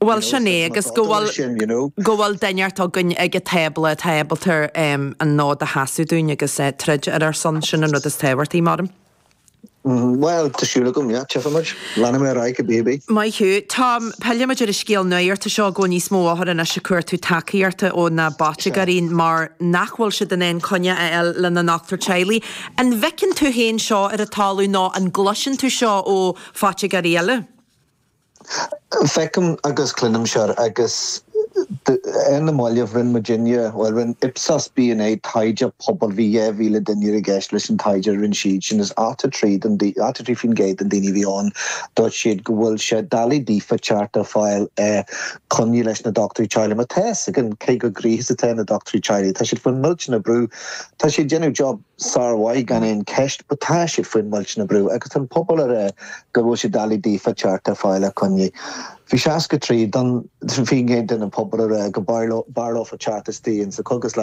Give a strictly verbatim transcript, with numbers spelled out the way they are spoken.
Well sin é agus go bhfuil go bhfuil duine againn ag an tábla atá ábalta an fód a sheasamh dúinn agus eh, troid ar ár son sin an rud is tábhachtaí mar. Mm, well tá siúla gom tefaid lena mé raiice baby. Maith thú Tom pillfimid ar an scéal nuachta seo go níos mó áthar an is cuairtú tacaíochta ó na bátegarí mar nach bhfuil siad in ann coinne a fháil lena ndochtúir teaghlaigh. An bhfeiceann tú féin seo ar an talamh nó an gcloiseann tú seo ó phoitigéirí eile? Feicim agus cluinim seo agus in na mbaile rinne muidinne well rinne Ipsos BNA taighde pobail bhí dhá mhíle duine i gceist leis an taighde rinne siad sin is ochtó trí ochtó trí faoin gcéad den daoine bhí ann dúirt siad go bhfuil sé doiligh daofa teacht ar fáil coinne leis na dochtúirí teaghlaigh mar tá an cé go gríos atá na dochtúirí teaghlaigh Tá siad faoin millteanach brú Tá siad déanamh job sármhaith gan aon ceist, but tá siad faoin millteanach brú agus an pobal ar go bhfuil sé doiligh daofa teacht ar fáil coinne. Bhí seasca trí don faoin gcéad den an pobal ar go b'fhearr leofa teacht isteach sa chógaslann